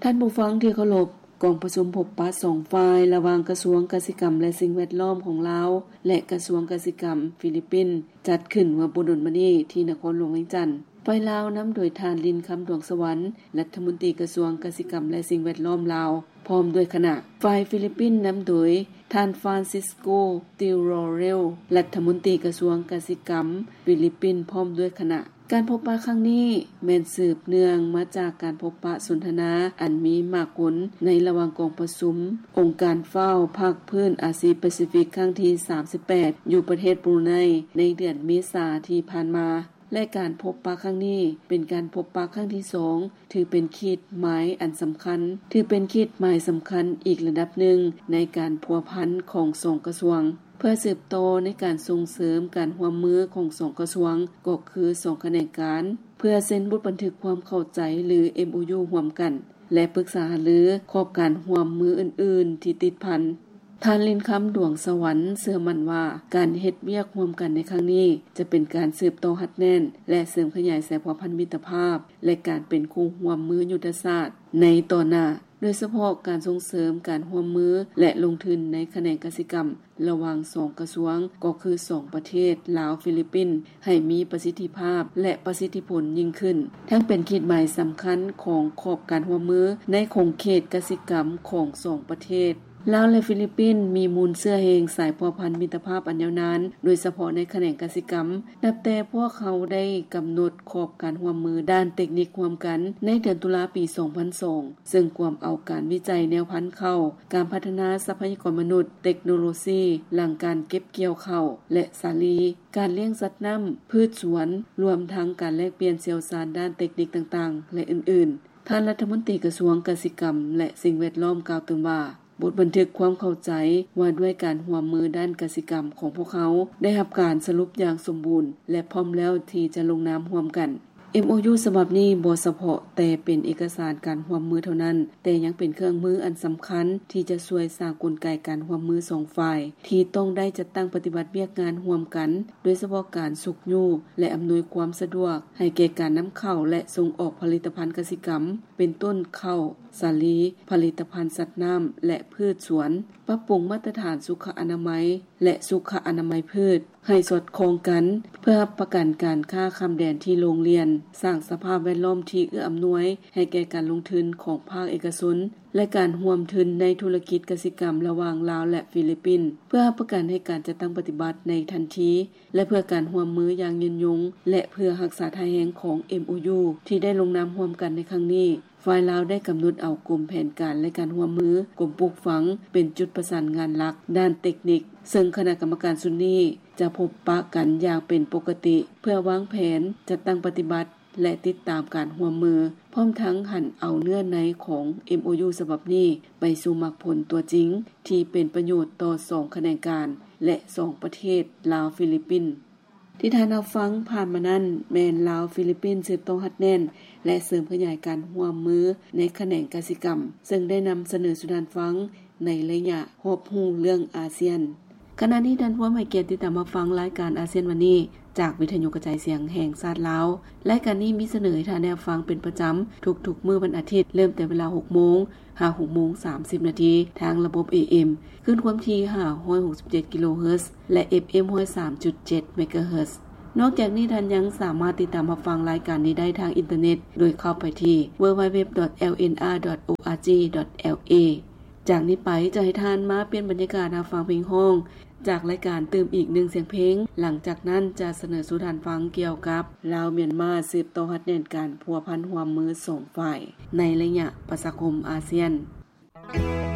ທ່ານຜູ້ຟັງທີ່ເຄົາລົບ, ກອງປະຊຸມພົບປະສອງຝ່າຍ ລະຫວ່າງກະຊວງກະສິກຳ ແລະ ສິ່ງແວດລ້ອມຂອງລາວ ແລະ ກະຊວງກະສິກຳຟີລິບປິນ ຈັດຂຶ້ນເມື່ອບໍ່ດົນມານີ້ທີ່ນະຄອນຫຼວງວຽງຈັນ. ຝ່າຍລາວນຳໂດຍທ່ານ ລິນຄຳ ດວງສະຫວັນ ລັດຖະມົນຕີກະຊວງກະສິກຳ ແລະ ສິ່ງແວດລ້ອມລາວ ພ້ອມດ້ວຍຄະນະ. ຝ່າຍຟີລິບປິນນຳໂດຍທ່ານ ຟານຊິສໂກ ຕິວໂຣເຣວ ລັດຖະມົນຕີກະຊວງກະສິກຳຟີລິບປິນ ພ້ອມດ້ວຍຄະນະ. ການພົບປະຄັ້ງນີ້ແມ່ນສືບເນື່ອງມາຈາກການພົບປະສົນທະນາອັນມີໝາກມົນໃນລະຫວ່າງກອງປະຊຸມອົງການ FAO ພາກພື້ນອາຊີແປຊີຟິກ ຄັ້ງທີສາມສິບແປດ ຢູ່ປະເທດບຣູໄນ ໃນເດືອນເມສາທີ່ຜ່ານມາ ແລະ ການພົບປະຄັ້ງນີ້ເປັນການພົບປະຄັ້ງທີສອງ ຖືເປັນຂີດໝາຍອັນສຳຄັນ, ຖືເປັນຂີດໝາຍສຳຄັນອີກລະດັບໜຶ່ງໃນການພົວພັນຂອງສອງກະຊວງ ເພື່ອສືບຕໍ່ໃນການສົ່ງເສີມການຮ່ວມມືຂອງສອງກະຊວງ ກໍຄືສອງຂະແໜງການ ເພື່ອເຊັນບົດບັນທຶກຄວາມເຂົ້າໃຈ ຫຼື ເອັມໂອຢູ ຮ່ວມກັນ ແລະ ປຶກສາຫາລືຂອບການຮ່ວມມືອື່ນໆທີ່ຕິດພັນ. ທ່ານ ລິນຄຳ ດວງສະຫວັນ ເຊື່ອໝັ້ນວ່າ ການເຮັດວຽກຮ່ວມກັນໃນຄັ້ງນີ້ ຈະເປັນການສືບຕໍ່ຮັດແໜ້ນ ແລະ ເສີມຂະຫຍາຍສາຍພົວພັນມິດຕະພາບ ແລະ ການເປັນຄູ່ຮ່ວມມືຍຸດທະສາດໃນຕໍ່ໜ້າ, ໂດຍສະເພາະການສົ່ງເສີມການຮ່ວມມື ແລະ ລົງທຶນໃນຂະແໜງກະສິກຳ ລະຫວ່າງສອງກະຊວງ ກໍຄືສອງປະເທດ ລາວ-ຟີລິບປິນ ໃຫ້ມີປະສິດທິພາບ ແລະ ປະສິດທິຜົນຍິ່ງຂຶ້ນ, ທັງເປັນຂີດໝາຍສຳຄັນຂອງຂອບການຮ່ວມມືໃນຂົງເຂດກະສິກຳຂອງສອງປະເທດ. ລາວ ແລະ ຟີລິບປິນ ມີມູນເຊື້ອແຮງສາຍພົວພັນມິດຕະພາບອັນຍາວນານ, ໂດຍສະເພາະໃນຂະແໜງກະສິກຳ. ນັບແຕ່ພວກເຮົາໄດ້ກຳນົດຂອບການຮ່ວມມືດ້ານເຕັກນິກຮ່ວມກັນໃນເດືອນຕຸລາປີສອງພັນສອງ ເຊິ່ງກວມເອົາການວິໄຈແນວພັນເຂົ້າ, ການພັດທະນາຊັບພະຍາກອນມະນຸດ, ເຕັກໂນໂລຊີ, ຫຼັງການເກັບກ່ຽວເຂົ້າ ແລະ ສາລີ, ການລ້ຽງສັດນ້ຳ, ພືດສວນ, ລວມທັງການແລກປ່ຽນຊ່ຽວຊານດ້ານເຕັກນິກຕ່າງໆ ແລະ ອື່ນໆ. ທ່ານລັດຖະມົນຕີກະຊວງກະສິກຳ ແລະ ສິ່ງແວດລ້ອມ ກ່າວຕື່ມວ່າ, ບົດບັນທຶກຄວາມເຂົ້າໃຈວ່າດ້ວຍການຮ່ວມມືດ້ານກະສິກຳຂອງພວກເຮົາ ໄດ້ຮັບການສະຫຼຸບຢ່າງສົມບູນ ແລະ ພ້ອມແລ້ວທີ່ຈະລົງນາມຮ່ວມກັນ. ເອັມໂອຢູ ສະບັບນີ້ບໍ່ສະເພາະແຕ່ເປັນເອກະສານການຮ່ວມມືເທົ່ານັ້ນ, ແຕ່ຍັງເປັນເຄື່ອງມືອັນສຳຄັນທີ່ຈະຊ່ວຍສ້າງກົນໄກການຮ່ວມມືສອງຝ່າຍ ທີ່ຕ້ອງໄດ້ຈັດຕັ້ງປະຕິບັດວຽກງານຮ່ວມກັນ, ໂດຍສະເພາະການຊຸກຍູ້ ແລະ ອຳນວຍຄວາມສະດວກໃຫ້ແກ່ການນຳເຂົ້າ ແລະ ສົ່ງອອກຜະລິດຕະພັນກະສິກຳ ເປັນຕົ້ນເຂົ້າ, ສາລີ, ຜະລິດຕະພັນສັດນ້ຳ ແລະ ພືດສວນ, ປັບປຸງມາດຕະຖານສຸຂະອະນາໄມ ແລະ ສຸຂະອະນາໄມພືດ ໃຫ້ສອດຄ່ອງກັນ ເພື່ອຮັບປະກັນການຄ້າຂ້າມແດນທີ່ໂລ່ງລ່ຽນ, ສ້າງສະພາບແວດລ້ອມທີ່ເອື້ອອຳນວຍໃຫ້ແກ່ການລົງທຶນຂອງພາກເອກະຊົນ ແລະ ການຮ່ວມທຶນໃນທຸລະກິດກະສິກຳລະຫວ່າງລາວ ແລະ ຟີລິບປິນ, ເພື່ອຮັບປະກັນໃຫ້ການຈັດຕັ້ງປະຕິບັດໃນທັນທີ ແລະ ເພື່ອການຮ່ວມມືຢ່າງຍືນຍົງ ແລະ ເພື່ອຮັກສາທ່າແຮງຂອງ ເອັມໂອຢູ ທີ່ໄດ້ລົງນາມຮ່ວມກັນໃນຄັ້ງນີ້. ຝ່າຍລາວໄດ້ກຳນົດເອົາກົມແຜນການ ແລະ ການຮ່ວມມື, ກົມປູກຝັງ ເປັນຈຸດປະສານງານຫຼັກດ້ານເຕັກນິກ, ເຊິ່ງຄະນະກຳມະການຊຸດນີ້ຈະພົບປະກັນຢ່າງເປັນປົກກະຕິ ເພື່ອວາງແຜນ, ຈັດຕັ້ງປະຕິບັດ ແລະ ຕິດຕາມການຮ່ວມມື, ພ້ອມທັງຫັນເອົາເນື້ອໃນຂອງ ເອັມໂອຢູ ສະບັບນີ້ໄປສູ່ໝາກຜົນຕົວຈິງ ທີ່ເປັນປະໂຫຍດຕໍ່ສອງຂະແໜງການ ແລະ ສອງປະເທດ ລາວ-ຟີລິບປິນ. ທີ່ທ່ານຮັບຟັງຜ່ານມານັ້ນ ແມ່ນລາວ-ຟີລິບປິນ ສືບຕໍ່ຮັດແໜ້ນ ແລະ ເສີມຂະຫຍາຍການຮ່ວມມືໃນຂະແໜງກະສິກຳ, ເຊິ່ງໄດ້ນຳສະເໜີສູ່ທ່ານຟັງໃນໄລຍະຮອບຮູ້ເລື່ອງອາຊຽນ. ຂະນະນີ້ທ່ານພວມໃຫ້ກຽດຕິດຕາມຮັບຟັງລາຍການອາຊຽນວັນນີ້ ຈາກວິທະຍຸກະຈາຍສຽງແຫ່ງຊາດລາວ. ລາຍການນີ້ມີສະເໜີໃຫ້ທ່ານໄດ້ຮັບຟັງເປັນປະຈຳທຸກໆມື້ວັນອາທິດ, ເລີ່ມແຕ່ເວລາຫົກໂມງ ຫາ ຫົກໂມງສາມສິບນາທີ ທາງລະບົບ ເອເອັມ ຄື້ນຄວາມຖີ່ ຫ້າຮ້ອຍຫົກສິບເຈັດ ກິໂລເຮີດ ແລະ ເອັຟເອັມ ຮ້ອຍສາມຈຸດເຈັດ ເມກາເຮີດ. ນອກຈາກນີ້, ທ່ານຍັງສາມາດຕິດຕາມຮັບຟັງລາຍການນີ້ໄດ້ທາງອິນເຕີເນັດ ໂດຍເຂົ້າໄປທີ່ ดัບເບິນຢູ ດັບເບິນຢູ ດັບເບິນຢູ ດອດ ແອລເອັນອາ ດອດ ໂອອາร์ຈີ ດອດ ແອລເອ. ຈາກນີ້ໄປ ຈະໃຫ້ທ່ານມາປ່ຽນບັນຍາກາດຮັບຟັງເພງຮ້ອງ ຈາກລາຍການຕື່ມອີກໜຶ່ງສຽງເພງ. ຫຼັງຈາກນັ້ນຈະສະເໜີສູ່ທ່ານຟັງກ່ຽວກັບລາວ-ມຽນມາ ສືບຕໍ່ຮັດແໜ້ນການພົວພັນຮ່ວມມືສອງຝ່າຍໃນໄລຍະປະຊາຄົມອາຊຽນ.